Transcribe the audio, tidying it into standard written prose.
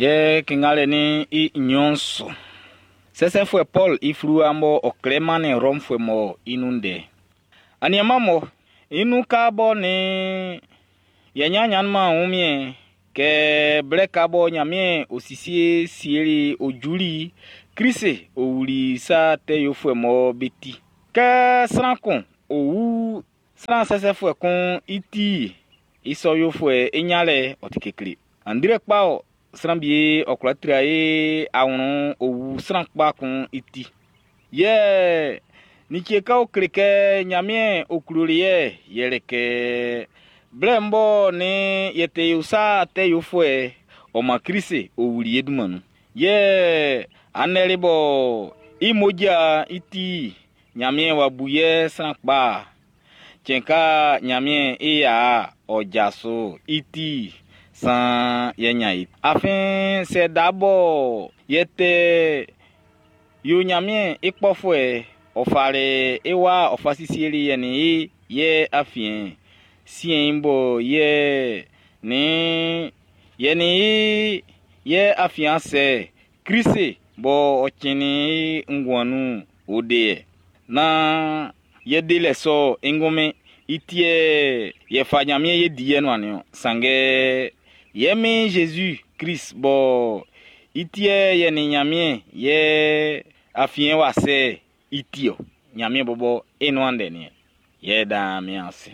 Yɛ kingalɛ ni i nɲɔn su. Sɛsɛfuɛ Paul i fluwa mɔ ɔ klɛ mannin Rɔmfuɛ mɔ i nun ndɛ. Aniaman mɔ i nun ka bɔ ni yɛ ɲanɲanman wunmiɛn kɛ blɛ ka bɔ Ɲanmiɛn o sisie sieli o juli Klisi o wuli sa tɛ yofuɛ mɔ be ti. Kɛ sran kun o wu sran sɛsɛfuɛ kun i ti i sɔ yofuɛ i ɲanlɛ ɔ ti kekle. Andre kpa ɔ sran bie ɔ kwla tra e awlɛn o wu sran kpa kun i ti. Yɛ like ka o kle kɛ Ɲanmiɛn o kloli yɛ yɛlɛ kɛ blɛ bɔ ni yɛ te yo sa tɛ yofuɛ ɔ man Klisi o wuli ye dunman nun. Yɛ anɛli bɔ i moja i ti Ɲanmiɛn wa bu yɛ sran kpa. Cɛn ka Ɲanmiɛn i ya ɔ jaso i ti san yɛ nya i. Afin sɛ da bɔ yɛ tɛ yo Ɲanmiɛn i kpɔfuɛ ɔ fali i wa ɔ fa sisieli yɛ ni i yɛ afiɛn siɛn bɔ yɛ ni yɛ ni i yɛ afiɛn sɛ Klisi bɔ ɔ cɛnnin i nguan nun o de yɛ. Na yɛ delɛ sɔ i ngunmin i tiɛ yɛ fa Ɲanmiɛn yɛ di yɛ nuan niɔn. Sanngɛ yɛ min Jésus Christ bɔ i tiɛ yɛ ni Ɲanmiɛn yɛ afiɛn wa sɛ i ti ɔ. Ɲanmiɛn bɔbɔ i nuan ndɛ niɛ. Yɛ dan mi ase.